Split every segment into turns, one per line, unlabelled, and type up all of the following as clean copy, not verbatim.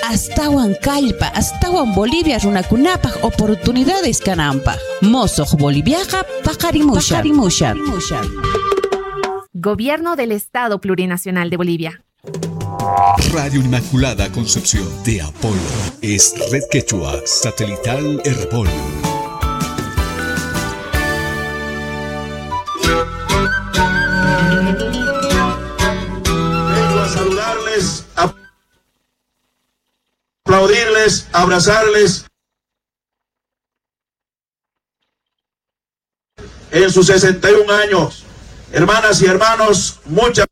Astawan kallpa, astawan Bolivia runakunapaj oportunidades kananpaj. Mosoq Boliviaqa paqarimushan.
Gobierno del Estado Plurinacional de Bolivia.
Radio Inmaculada Concepción de Apolo es Red Quechua Satelital Herbol.
Vengo a saludarles, a aplaudirles, abrazarles en sus 61 años. Hermanas y hermanos, muchas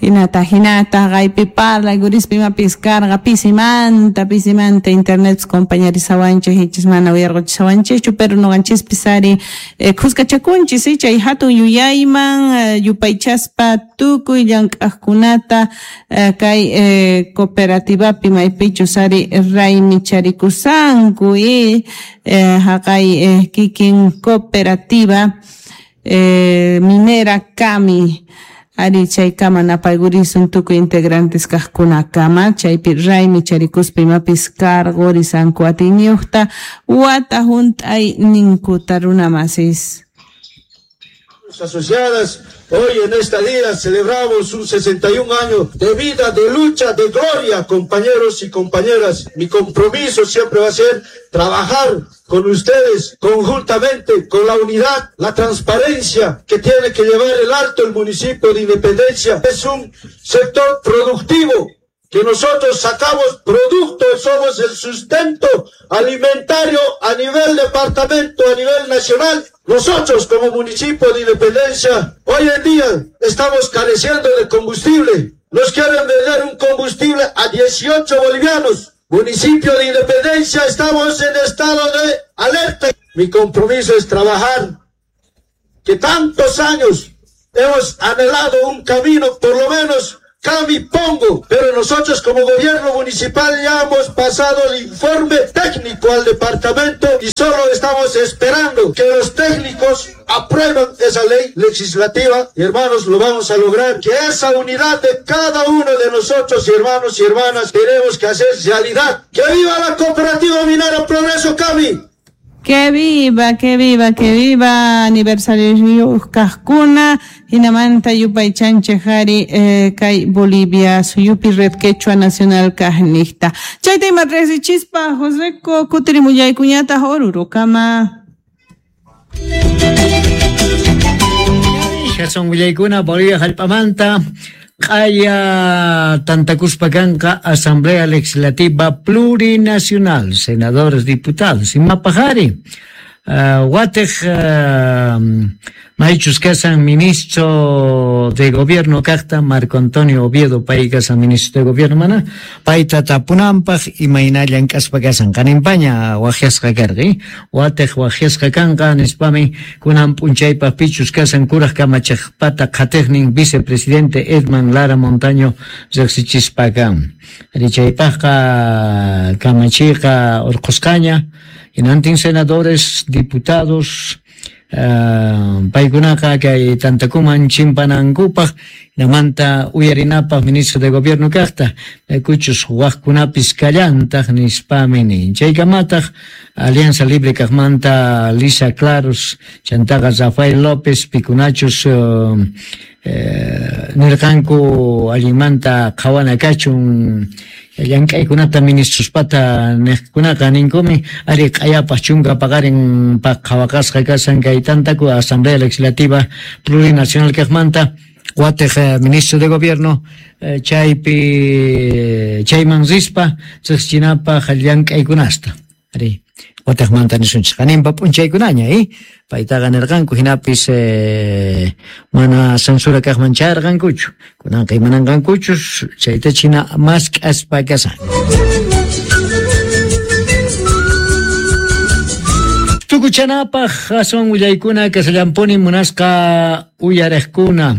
Hinata, hinata, qaypi parlay, gurispi imapis karqa, pisimanta, pisimanta internet compañerisawanchik, hichis mana uyarquchisawanchikchu, pero nuqanchispis ari khuskachakunchis, chay hatun yuyayman yupaychaspa tukuy llank'aqkunata kay cooperativapi maypichus ari raymi charikusanku haqay kikin cooperativa minera Cami. Ari chaykama napaygurisun tukuy integrantes kaqkunakama chaypi raymi charikuspa imapis karqurisanku atiyniyuqta wata hunt'ay ninkuta runamasis.
Asociadas, hoy en esta día celebramos un 61 años de vida, de lucha, de gloria, compañeros y compañeras. Mi compromiso siempre va a ser trabajar con ustedes conjuntamente, con la unidad, la transparencia que tiene que llevar el alto el municipio de Independencia. Es un sector productivo que nosotros sacamos productos, somos el sustento alimentario a nivel departamento, a nivel nacional. Nosotros como municipio de Independencia, hoy en día estamos careciendo de combustible. Nos quieren vender un combustible a 18 bolivianos. Municipio de Independencia, estamos en estado de alerta. Mi compromiso es trabajar, que tantos años hemos anhelado un camino, por lo menos Cami Pongo, pero nosotros como gobierno municipal ya hemos pasado el informe técnico al departamento y solo estamos esperando que los técnicos aprueben esa ley legislativa y hermanos, lo vamos a lograr, que esa unidad de cada uno de nosotros, hermanos y hermanas, tenemos que hacer realidad. ¡Que viva la cooperativa minera Progreso Cami!
Que viva, que viva, que viva aniversario kaqkuna hinamanta yupaychanchik ari kay Bolivia suyupi Red Quechua Nacional kaqniqta. Chayta ima riqsichispa Joseco kutirimullaykuñataq Orurokama.
Jason willaykuna Bolivia hallp'amanta q'aya tantakuspa kanqa Asamblea Legislativa Plurinacional, senadores, diputados, imapajari. Watej maychus kasan ministro de gobierno kaqta Marco Antonio Oviedo pay kasan ministro de gobierno mana payta tapunanpaj imayna llank'aspa kasan qaninpaña waqyasqa karqa watej waqyasqa kanqa nispami kunan p'unchaypaj pichus kasan kuraj kamachejpata qhatejnin vicepresidente Edman Lara Montaño riqsichispa kan richaypajqa kamachiqa urqusqaña hinantin senadores, diputados, paykunaqa kay tantakuman chimpanankupaj hinamanta uyarinapaj ministro de gobierno kaqta kuchus waqkunapis kallantaq nispami nin chaykamataq Alianza Libre kaqmanta Lisa Claros chantaqa Rafael López pikunachus nirqanku allinmanta qhawana kachun llank'aykunata ministrospata niqkunaqa ninkumi ari q'ayapaj chunka paqarin paq qhawaqasqa kasan kay tantaku Asamblea Legislativa Plurinacional kaqmanta watej ministro de gobierno chaypi chayman rispa riqsichinapaj llank'aykunasta ari watejmanta nisunchik qaninpa p'unchaykunaña paytaqa nirqanku hinapis mana censura kaqman chayarqankuchu kunanqa imananqankuchus chayta china mask'aspa kasan. Tukuchanapaj aswan willaykuna kasallampuni munasqa uyariqkuna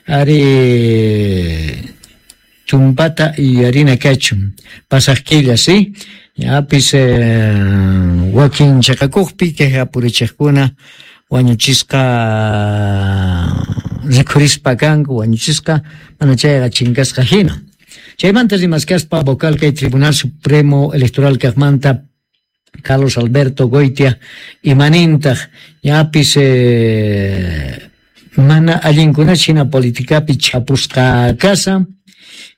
ari tumpata yuyarina kachun pasaq killa si yapis wakin chaqakuqpi queja purichiqkuna wañuchisqa Rikhurispa kanku wañuchisqa mana chayqa chinkasqa hina. Chaymanta rimaskaspa vocal kay Tribunal Supremo Electoral kaqmanta Carlos Alberto Goitia imanintaq ñapis mana allinkuna hina politikapi chapusqa kasa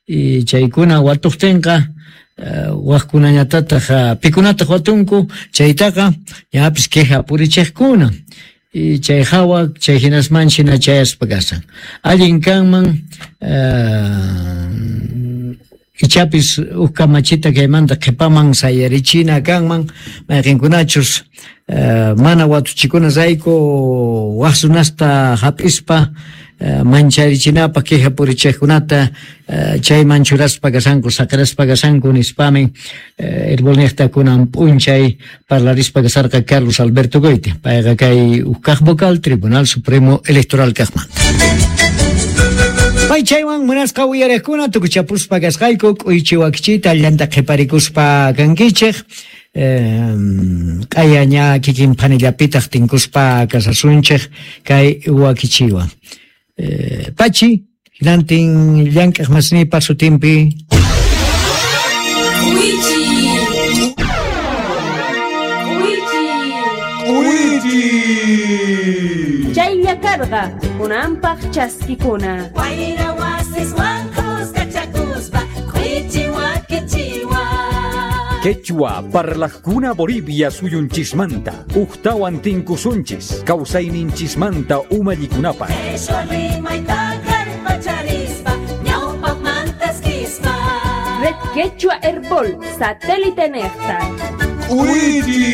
y chaykuna watuqtinqa waqkunañatataq pikunataq watunku chaytaqa ñapis queja purichiqkuna y chay hawa chay hinasman hina chayaspa kasan allin kanman ichapis uj kamachita kaymanta qhipaman sayarichina kanman mayqinkunachus mana watuchikunarayku waq runasta hap'ispa mancharichinapaq queja purichiqkunata chayman churaspa kasanku saqiraspa kasanku nispamin Herbolniqta kunan p'unchay parlarispa kasarqa Carlos Alberto Goitia payqa kay uj kaq vocal Tribunal Supremo Electoral kaqmanta. Pay chaywan munasqa uyariqkuna tukuchapuspa kasqayku k'uychi wakichiyta allanta qhiparikuspa kankichej q'aya ña kikin phanillapitaq tinkuspa kasasunchej kay wakichiwan. Pachi, hinantin llank'aq masnipa sutinpi.
Chaylla karqa kunanpaq chaskikuna.
Wayra wasiswan kuskachakuspa k'uychi wakichiwan.
Quechua parlajkuna Bolivia suyunchismanta ujtawan tinkusunchis kawsayninchismanta umallikunapaq.
Quechua rimayta kallpacharispa ñawpaqmantaskispa.
Red Quechua Herbol satélite nejta.
K'uychi.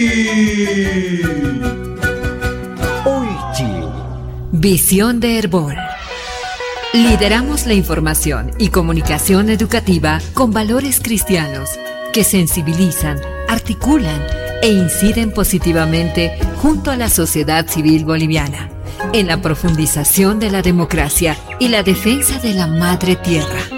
Oychi.
Visión de Herbol. Lideramos la información y comunicación educativa con valores cristianos que sensibilizan, articulan e inciden positivamente junto a la sociedad civil boliviana en la profundización de la democracia y la defensa de la madre tierra.